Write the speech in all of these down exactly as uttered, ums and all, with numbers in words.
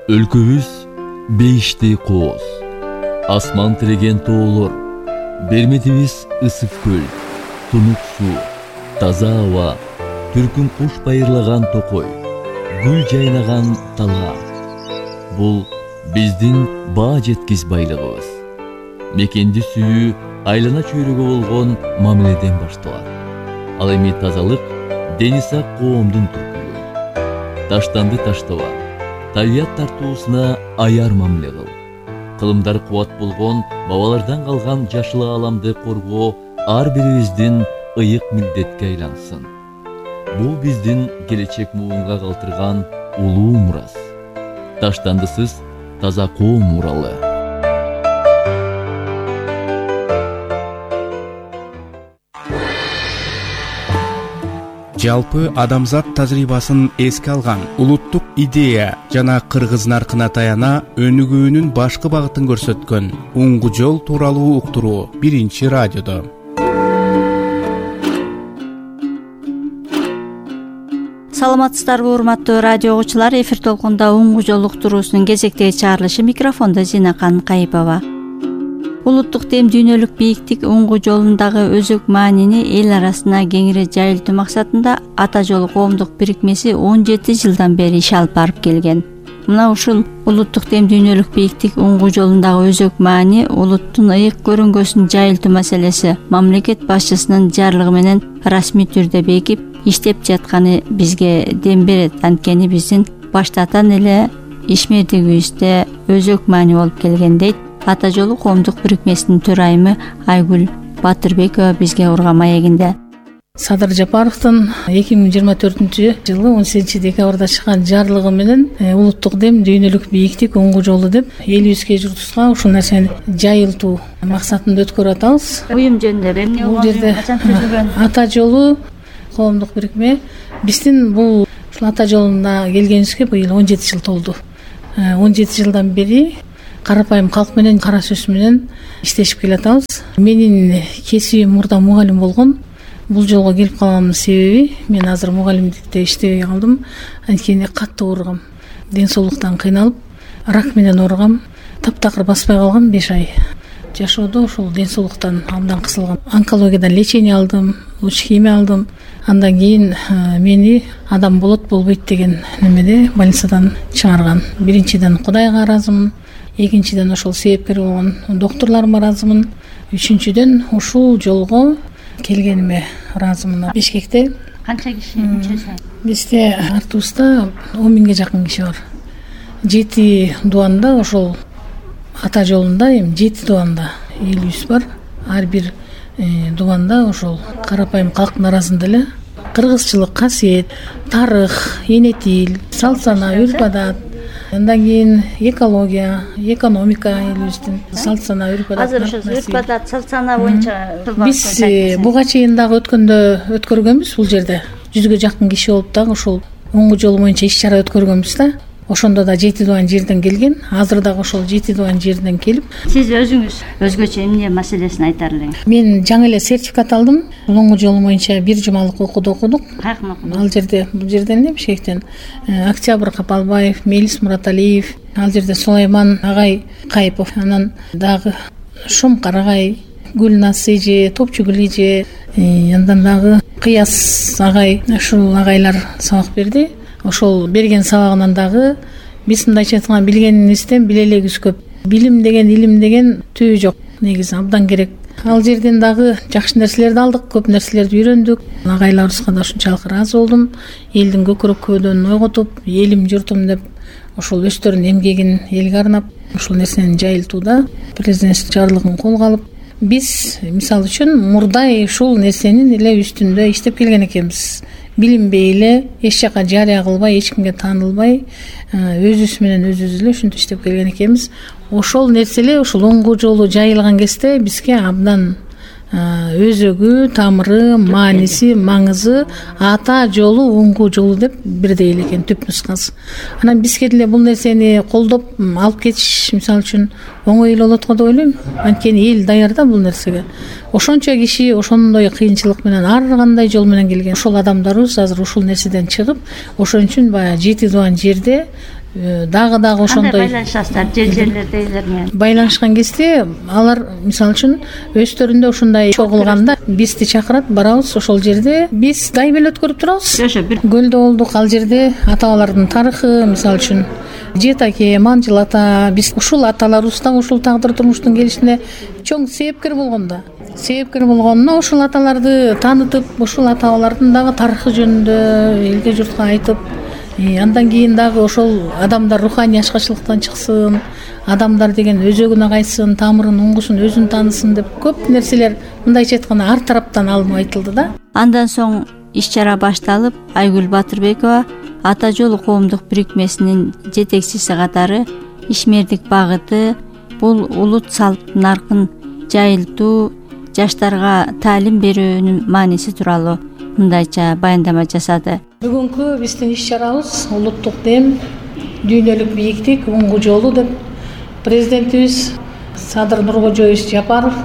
Өлкөбүз бейиштей кооз, асман тиреген тоолор, берметибиз ысык көл, тунук суу, таза аба, түркүн куш байырлаган токой, гүл жайнаган талга. Бул биздин баа жеткиз байлыгыбыз. Мекенди сүйүү айлана чөйрөгө болгон мамиледен башталат. Ал эми тазалык дени сак коомдун түркүлүгү. Таштанды таштаба, табият тартуусуна аяр мамиле кыл. Кылымдар кубат болгон бабалардан калган жашыл ааламды коргоо ар бирибиздин ыйык милдетке айлансын. Бул биздин келечек муунга калтырган улуу мурас. Таштандысыз таза коом муралы. Жалпы адамзат тажрыйбасын эске алган улуттук идея жана кыргыз наркына таяна өнүгүүнүн башкы багытын көрсөткөн Уңгу жол тууралуу уктуруу биринчи радиодо. Саламатсыздарбы урматтуу радио угуучулар, эфир толкунда Уңгу жол уктуруусунун кезектеги чыгарылышы, микрофондо Зинакан Кайыпова. Улуттук дем дүйнөлүк бийиктик Уңгу жолундагы өзөк маанини эл арасына кеңири жайылтуу максатында Ата жолу коомдук бирикмеси он жети жылдан бери иш алып барып келген. Мына ушул улуттук дем дүйнөлүк бийиктик Уңгу жолундагы өзөк маани улуттун ыйык көрүнгөсүн жайылтуу маселеси мамлекет башчысынын жарлыгы менен расмий түрдө бекип иштеп жатканы бизге дем берет. Анткени биздин баштатан эле ишмердигибизде өзөк маани болуп келген дейт Ата жолу коомдук бирикмесинин төрайымы Айгүл Батырбекова бизге урга маегинде. Садыр Жапаровдун эки миң жыйырма төртүнчү жылы он сегизинчи декабрда чыккан жарлыгы менен улуттук дем дүйнөлүк бийиктик Уңгу жолу деп элибизге журтубузга ушул нерсени жайылтуу максатында өткөрүп атабыз. Уюм жөнүндө эмне бул жерде Ата жолу коомдук бирикме биздин бул ушул Ата жолуна келгенибизге быйыл он жети жыл толду. он жети жылдан бери карапайым калк менен, кара сөз менен иштешип келатабыз. Менин кесибим мурда мугалим болгон. Бул жолго келип калганымдын себеби мен азыр мугалимдикте иштебей калдым. Анткени катты ооругам. Ден соолуктан кыйналып, рак менен ооругам. Таптакыр баспай калгам беш ай. Жашоодо ушул ден соолуктан абдан кысылгам. Онкологиядан лечение алдым, лучхимия алдым. Андан кийин мени адам болот болбойт деген немеде больницадан чыгарган. Биринчиден Кудайга ыраазымын. Экинчиден ошол себепкер болгон доктурларыма ыраазымын. Үчүнчүдөн ушул жолго келгениме ыраазымын. Бишкекте канча киши мүчөсү? Бизде артыбызда он миңге жакын киши бар. Жети дубанда ошол Ата жолунда эми жети дубанда элибиз бар. Ар бир дубанда ошол карапайым калктын арасында эле кыргызчылык, касиет, тарых, энетил, салт сана, үрп адат, андан кийин экология, экономика элибиздин салт сана, үрп адат. Азыр ошо үрп адат, салт сана боюнча биз буга чейин дагы өткөндө өткөргөнбүз. Бул жерде жүзгө жакын киши болуп дагы ушул Уңгу жолу боюнча иш чара өткөргөнбүз да. Ошондо да жети дубан жерден келген. Азыр дагы ошол жети дубан жерден келип. Сиз өзүңүз өзгөчө эмне маселесин айтар элеңиз? Мен жаңы эле сертификат алдым. Уңгу жолу боюнча бир жумалык окууду окудук. Каяктан окудуңуз? Ал жерде, бул жерден эле Бишкектен Октябрь Капалбаев, Мелис Мураталиев, ал жерде Сулайман агай Кайыпов, анан дагы Шум Карагай, Гүлназ эже, Топчугүл эже, андан дагы Кыяс агай, ушул агайлар сабак берди. Ошол берген сабагынан дагы биз мындайча айтканда билгенибизден биле элегибиз көп. Билим деген, илим деген түбү жок. Негизи абдан керек. Ал жерден дагы жакшы нерселерди алдык, көп нерселерди үйрөндүк. Агайларыбызга да ушунчалык ыраазы болдум. Элдин көкүрөк көөдөнүн ойготуп, элим журтум деп ошол өздөрүнүн эмгегин элге арнап ушул нерсени жайылтууда президент жарлыгын колго алып, биз мисалы үчүн мурдай ушул нерсенин эле үстүндө иштеп келген экенбиз. Билинбей эле, эч жака жарыя кылбай, эч кимге таанылбай, өзүбүз менен өзүбүз эле ушинтип иштеп келген экенбиз. Ошол нерсе эле ушул Уңгу жолу жайылган кезде бизге абдан өзөгү, тамыры, мааниси, маңызы Ата жолу Уңгу жолу деп бирдей эле экен түп нускасы. Анан бизге деле бул нерсени колдоп алып кетиш мисалы үчүн оңой эле болот го деп ойлойм. Анткени эл даяр да бул нерсеге. Ошончо киши ошондой кыйынчылык менен ар кандай жол менен келген. Ошол адамдарыбыз азыр ушул нерседен чыгып, ошон үчүн баягы жети дубан жерде дагы дагы ошондой кандай байланышасыздар жер жерлердегилер менен? Байланышкан кезде алар мисалы үчүн өздөрүндө ушундай чогулганда бизди чакырат, барабыз ошол жерде биз гайбел өткөрүп турабыз. Жошо бир Көлдө болдук, ал жерде ата бабалардын тарыхы, мисалы үчүн Жетаке, Манжыл ата, биз ушул аталарыбыз дагы ушул тагдыр турмуштун келишине чоң себепкер болгон да. Себепкер болгонуна ушул аталарды таанытып, ушул ата бабалардын дагы тарыхы жөнүндө элге журтка айтып, андан кийин дагы ошол адамдар руханий ачкачылыктан чыксын, адамдар деген өзөгүнө кайтсын, тамырын, уңгусун өзүн таанысын деп көп нерселер мындайча айтканда ар тараптан алынып айтылды да. Андан соң иш-чара башталып, Айгүл Батырбекова Ата жолу коомдук бирикмесинин жетекчиси катары ишмердик багыты бул улут салт наркын жайылтуу, жаштарга таалим берүүнүн мааниси тууралуу мындайча баяндама жасады. Бүгүнкү биздин иш-чарабыз улуттук дем, дүйнөлүк бийиктик, уңгу жолу деп президентибиз Садыр Нуркожоевич Жапаров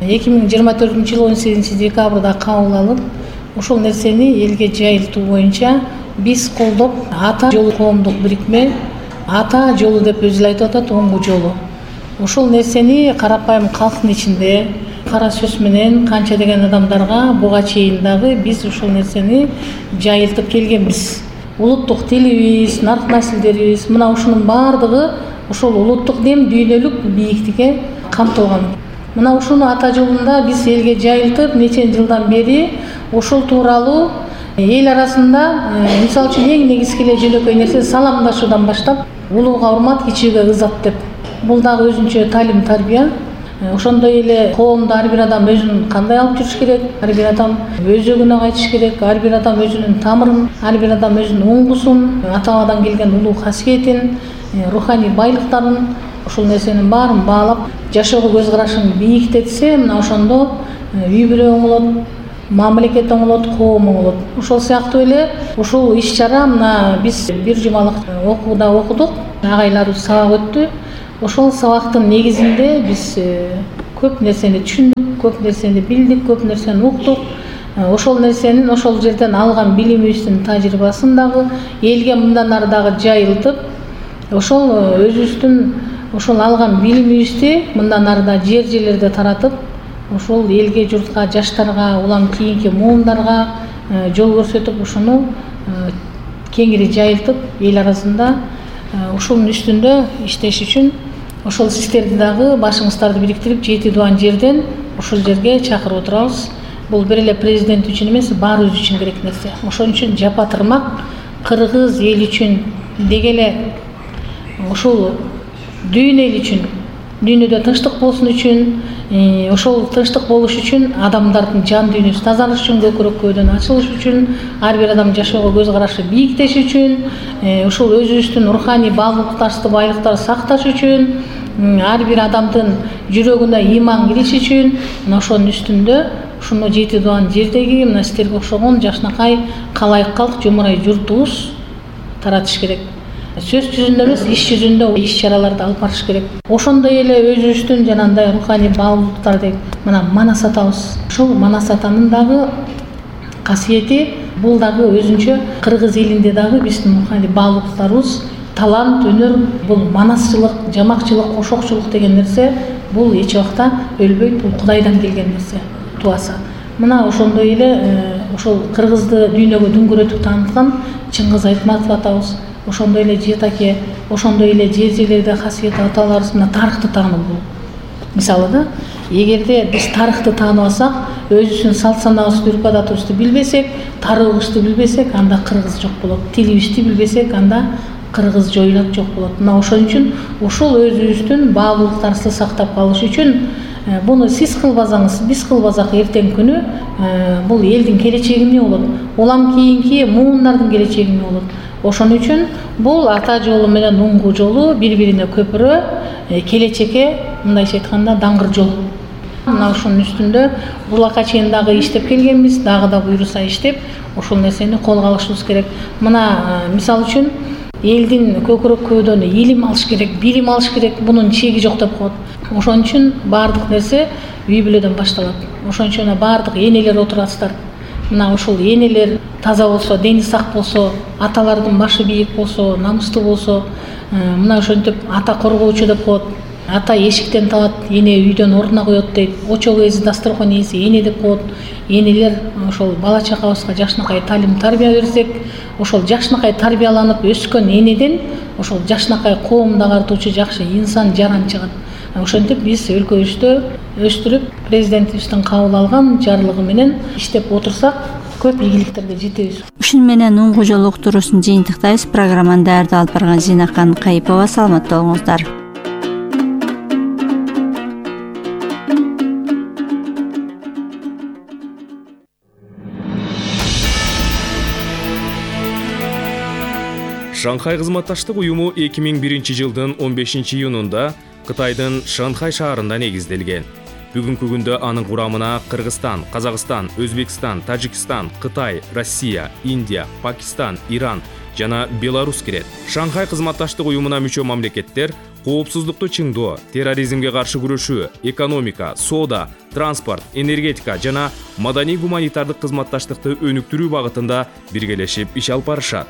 эки миң жыйырма төртүнчү жылы он сегизинчи декабрда кабыл алып, ушул нерсени элге жайылтуу боюнча биз колдоп ата жолу коомдук бирикме, ата жолу деп өзү эле айтып атат, уңгу жолу. Ушул нерсени карапайым калктын ичинде кара сөз менен канча деген адамдарга буга чейин дагы биз ушул нерсени жайылтып келгенбиз. Улуттук тилибиз, нарк наслдерибиз, мына ушунун баардыгы ушул улуттук дем, дүйнөлүк бийиктикке камтылган. Мына ушуну ата жолунда биз элге жайылтып, нече жылдан бери ушул тууралуу эл арасында мисалы үчүн эң негизги эле жөнөкөй нерсе саламдашуудан баштап, улууга урмат, кичүүгө ызат деп. Бул дагы өзүнчө талим, тарбия. Ошондой эле коомдо ар бир адам өзүн кандай алып жүрүш керек, ар бир адам өзөгүнө кайтыш керек, ар бир адам өзүнүн тамырын, ар бир адам өзүнүн уңгусун, ата бабадан келген улуу касиетин, руханий байлыктарын, ушул нерсенин баарын баалап, жашоого көз карашын бийиктетсе, мына ошондо үй бүлө оңолот, мамлекет оңолот, коом оңолот. Ошол сыяктуу эле ушул иш-чара мына биз бир жумалык окууда окудук, агайларыбыз сабак өттү. Ошол сабактын негизинде биз көп нерсени түшүндүк, көп нерсени билдик, көп нерсени уктук. Ошол нерсенин ошол жерден алган билимибиздин тажрыйбасын дагы элге мындан ары дагы жайылтып, ошол өзүбүздүн ошол алган билимибизди мындан ары да жер жерлерде таратып, ошол элге журтка, жаштарга, улам кийинки муундарга жол көрсөтүп, ушуну кеңири жайылтып, эл арасында ушунун үстүндө иштеш үчүн ошол сиздерди дагы башыңыздарды бириктирип, жети дуан жерден ушул жерге чакырып отурабыз. Бул бир эле президент үчүн эмес, баарыбыз үчүн керек нерсе. Ошон үчүн жапа тырмак кыргыз эл үчүн деги эле ушул дүйнө эл үчүн, дүйнөдө тынчтык болсун үчүн, ошол тынчтык болуш үчүн, адамдардын жан дүйнөсү тазалыш үчүн, көкүрөк көөдөн ачылыш үчүн, ар бир адам жашоого көз карашы бийиктеш үчүн, ушул өзүбүздүн руханий баалуулуктарыбызды, байлыктарды сакташ үчүн, ар бир адамдын жүрөгүнө ыйман кириш үчүн, мына ошонун үстүндө ушуну жети дуан жердеги мына сиздерге окшогон жашнакай калайык калк жумурай журтубуз таратыш керек. Сөз жүзүндө эмес, иш жүзүндө иш-чараларды алып барыш керек. Ошондой эле өзүбүздүн жанагындай руханий баалуулуктар деп мына манас атабыз. Ушул манас атанын дагы касиети бул дагы өзүнчө кыргыз элинде дагы биздин руханий баалуулуктарыбыз, талант, өнөр, бул манасчылык, жамакчылык, кошокчулук деген нерсе бул эч убакта өлбөйт, бул Кудайдан келген нерсе, туаса. Мына ошондой эле ошол кыргызды дүйнөгө дүңгүрөтүп тааныткан Чыңгыз Айтматов атабыз, ошондой эле Жетаке, ошондой эле жер жерлерде касиеттүү аталарыбыз мына тарыхты таануу бул. Мисалы да, эгерде биз тарыхты тааныбасак, өзүбүздүн салт санаабызды, үрп адатыбызды билбесек, тарыхыбызды билбесек, анда кыргыз жок болот. Тилибизди билбесек, анда кыргыз жоюлат, жок болот. Мына ошон үчүн ушул өзүбүздүн баалуулуктарыбызды сактап калыш үчүн буну сиз кылбасаңыз, биз кылбасак эртең күнү бул элдин келечеги эмне болот? Улам кийинки муундардын келечеги эмне болот? Ошон үчүн бул ата жолу менен уңгу жолу бири-бирине көпүрө, келечекке мындайча айтканда даңгыр жол. Мына ушунун үстүндө булакка чейин дагы иштеп келгенбиз, дагы да буйруса иштеп, ушул нерсени колго алышыбыз керек. Мына мисалы үчүн элдин көкүрөк көөдөн илим алыш керек, билим алыш керек, бунун чеги жок деп коет. Ошон үчүн баардык нерсе үй бүлөдөн башталат. Ошон үчүн баардык энелер отурасыздар. мына ушул энелер таза болсо, дени сак болсо, аталардын башы бийик болсо, намыстуу болсо, мына ошентип ата коргоочу деп коет. Ата эшиктен табат, эне үйдөн ордуна коет дейт. Очол ээси, дасторкон ээси эне деп коет. Энелер ошол бала чакабызга жакшынакай талим тарбия берсек, ошол жакшынакай тарбияланып өскөн энеден ошол жакшынакай коомду агартуучу жакшы инсан жаран чыгат. Ошентип биз өлкөбүздө өстүрүп, президентибиздин кабыл алган жарлыгы менен иштеп отурсак, көп ийгиликтерге жетебиз. Ушун менен уңгу жол уктуруусун жыйынтыктайбыз. Программаны даярдап алып барган Зинакан Кайыпова. Саламатта болуңуздар. Шанхай кызматташтык уюму эки миң биринчи жылдын он бешинчи июнунда Кытайдын Шанхай шаарында негизделген. Бүгүнкү күндө анын курамына Кыргызстан, Казакстан, Өзбекстан, Тажикстан, Кытай, Россия, Индия, Пакистан, Иран жана Беларусь кирет. Шанхай кызматташтык уюмуна мүчө мамлекеттер коопсуздукту чыңдоо, терроризмге каршы күрөшүү, экономика, соода, транспорт, энергетика жана маданий-гуманитардык кызматташтыкты өнүктүрүү багытында биргелешип иш алып барышат.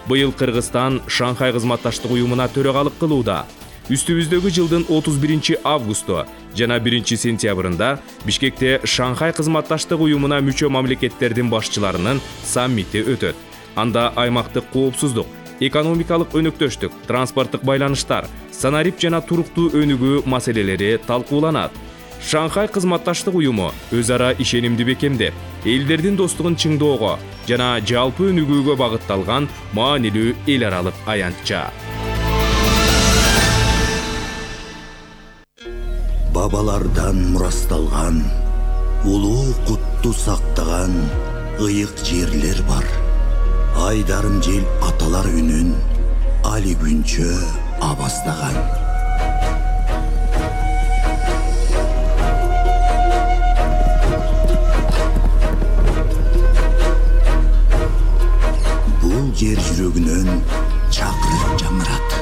Быйыл Кыргызстан Шанхай кызматташтык уюмуна төрөгалык кылууда. Үстүбүздөгү жылдын отуз биринчи августу жана биринчи сентябрында Бишкекте Шанхай кызматташтык уюмуна мүчө мамлекеттердин башчыларынын саммити өтөт. Анда аймактык коопсуздук, экономикалык өнөктөштүк, транспорттук байланыштар, санарип жана туруктуу өнүгүү маселелери талкууланат. Шанхай кызматташтык уюму өз ара ишенимди бекемдеп, элдердин достугун чыңдоого жана жалпы өнүгүүгө багытталган маанилүү эл аралык аянтча. Бабалардан мурасталган, улуу кутту сактаган ыйык жерлер бар. Айдарым жел аталар үнүн али күнчө абастаган. Бул жер жүрөгүнөн чакырып жаңырат.